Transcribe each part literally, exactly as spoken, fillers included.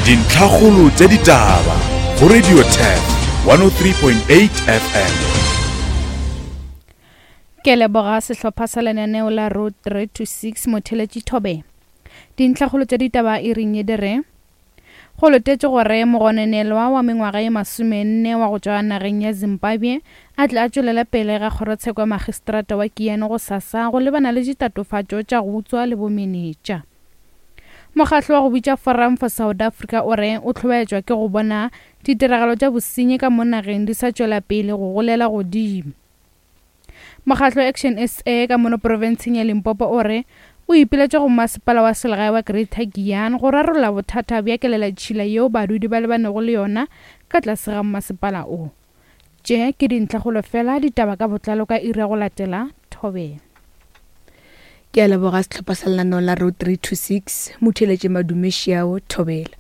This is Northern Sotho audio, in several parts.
Dintlhakgolo tša ditaba go Radio Turf one oh three point eight F M. Ke leboga sehlopha sa lenaneo la Road three to six motheletši Thobe. Dintlhakgolo tša ditaba e reng e dire go letetše gore mogononelwa wa mengwaga ye masomenne wa go tšwa nageng ya Zimbabwe a tle a tšwelele pele ga kgorotsheko ya magistrata wa Kiano go sasa go lebana le ditatofatšo tša go utswa le bomenetša. Mokgatlo wa go bitša Forum for South Africa o re o hlobaetšwa ke go bona ditiragalo tša bosenyi ka mo nageng di sa tšwela pele go golela godimo. Mokgatlo Action S A ka mono profenseng ya Limpopo o re o ipiletša go masepala wa selegae wa Greater Giyani go rarolla bothata bja kelelatšhila yeo badudi ba lebanego le yona ka tlase ga masepala o. Tše ke dintlhakgolo fela ditaba ka botlalo ka iri ya go latela Thobela. Ke a leboga sehlopha sa lenaneo la Road three two six, motheeletše Madume Šiao Thobela.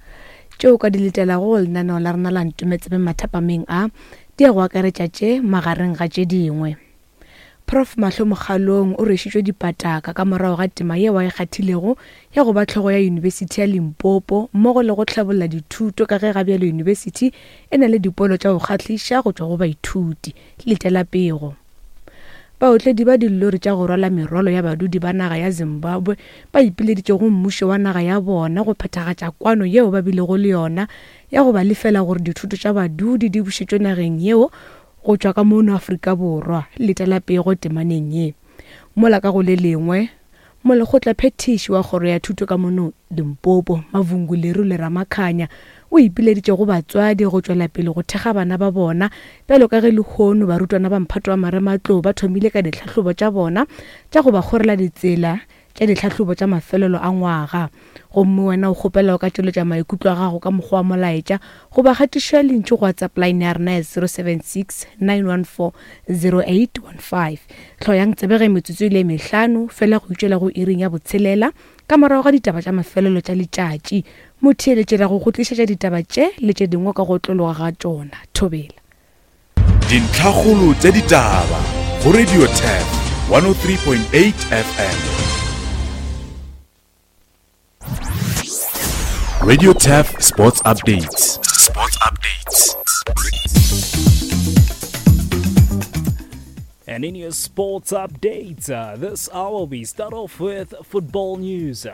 Tšeo ka di letelago go lenaneo la rena la Ntometsebe mathapameng a, di ya go akaretša tše magareng ga tše dingwe. Prof Mahlo Mokgalong o rwešitšwe dipataka ka morago ga tema yeo a e kgathilego ya go ba hlogo ya Yunibesithi ya Limpopo mmogo le go hlabolla dithuto ka ge ga bjalo yunibesithi e na le dipolo tša go kgahliša go tšwa go baithuti. Letela pego. Baotledi ba dilori tša go rwala merwalo ya badudi ba naga ya Zimbabwe ba ipileditše go mmušo wa naga ya bona go phethagatša kwano yeo ba bilego le yona ya go ba lefela gore dithoto tša badudi di bušetšwe nageng yeo go tšwa ka mono Afrika Borwa. Letela pego temaneng ye. Mola ka go le lengwe, molekgotla phethiši wa kgoro ya thuto ka mono Limpopo, Mavungu Leru le Ramakhanya, o ipileditše go batswadi go tšwela pele go thekga bana ba bona bjalo ka ge lehono barutwana ba mphato wa marematlou ba thomile ka ditlhahlobo tša bona tša go ba kgorela ditsela tša ditlhahlobo tša mafelelo a ngwaga. Gomme wena o kgopela o ka tšweletša maikutlo a gago ka mokgwa wa molaetša goba kgatišo ya lentšu go WhatsApp line ya rena ya zero seven six nine one four zero eight one five. Hloyang tsebege metsotso e le mehlano fela go itšwela go iring ya botshelela ka morago ga ditaba tša mafelelo tša letšatši. Motheeletši ra go go tlišetša ditaba tše le tše dingwe ka go tlologa ga tšona. Thobela. Dintlhakgolo tša ditaba go Radio Turf one oh three point eight F M. Radio Turf Sports Updates. Sports Updates. And in your sports updates, uh, this hour we start off with football news.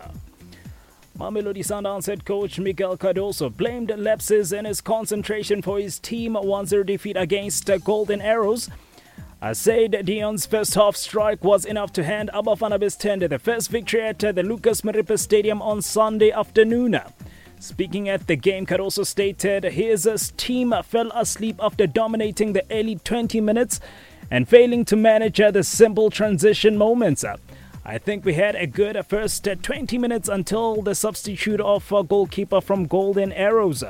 Mamelodi Sundowns head coach Miguel Cardoso blamed lapses in his concentration for his team one zero defeat against Golden Arrows. Uh, said Dion's first half strike was enough to hand Abafana Bes'thende the first victory at the Lucas Moripe Stadium on Sunday afternoon. Speaking at the game, Cardoso stated his team fell asleep after dominating the early twenty minutes and failing to manage the simple transition moments. I think we had a good first twenty minutes until the substitute of a goalkeeper from Golden Arrows.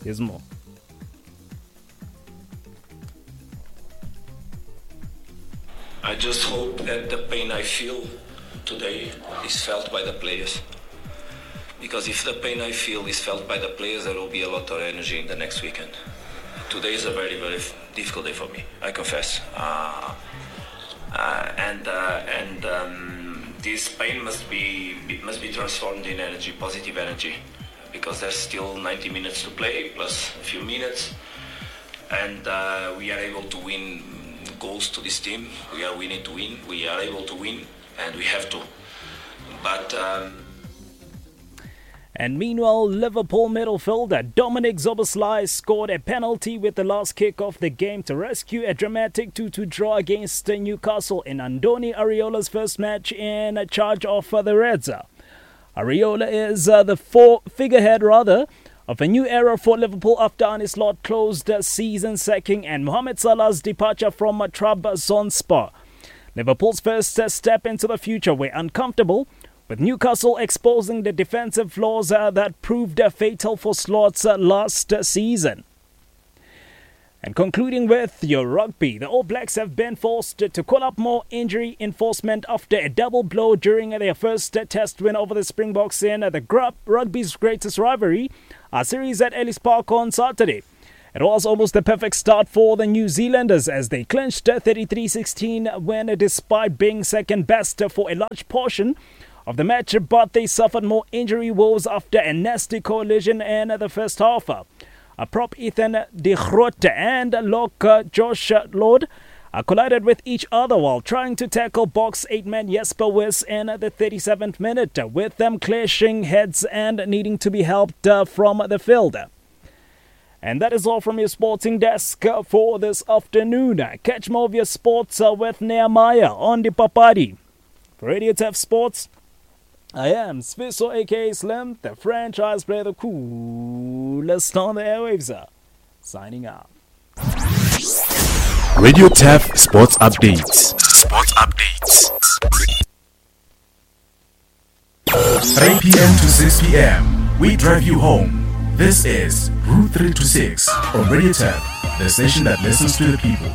Here's more. I just hope that the pain I feel today is felt by the players. Because if the pain I feel is felt by the players, there will be a lot of energy in the next weekend. Today is a very, very difficult day for me, I confess. Uh, uh, and uh, and, um, this pain must be, must be transformed in energy, positive energy, because there's still ninety minutes to play, plus a few minutes. And, uh, we are able to win goals to this team. We are winning to win. We are able to win, and we have to. But... Um, And meanwhile, Liverpool midfielder Dominic Szoboszlai scored a penalty with the last kick of the game to rescue a dramatic two two draw against Newcastle in Andoni Iraola's first match in charge of the Reds. Iraola is uh, the four figurehead rather of a new era for Liverpool after Arne Slot closed the season sacking and Mohamed Salah's departure from Trabzonspor. Liverpool's first step into the future were uncomfortable, with Newcastle exposing the defensive flaws uh, that proved uh, fatal for Slot's uh, last uh, season. And concluding with your rugby, the All Blacks have been forced to call up more injury enforcement after a double blow during their first test win over the Springboks in the rugby's greatest rivalry, a series at Ellis Park on Saturday. It was almost the perfect start for the New Zealanders as they clinched a thirty-three sixteen win despite being second best for a large portion of the match, but they suffered more injury woes after a nasty collision in the first half. A prop Ethan de Groot and lock Josh Lord collided with each other while trying to tackle box eight-man Jasper Wiss in the thirty-seventh minute, with them clashing heads and needing to be helped from the field. And that is all from your sporting desk for this afternoon. Catch more of your sports with Nehemiah on the Papadi. For Radio T E F Sports, I am Sviso aka Slim, the franchise player, the coolest on the airwaves. Signing out. Radio T E F Sports Updates. Sports Updates. three p.m. to six p.m. We drive you home. This is Route three two six on Radio T E F, the station that listens to the people.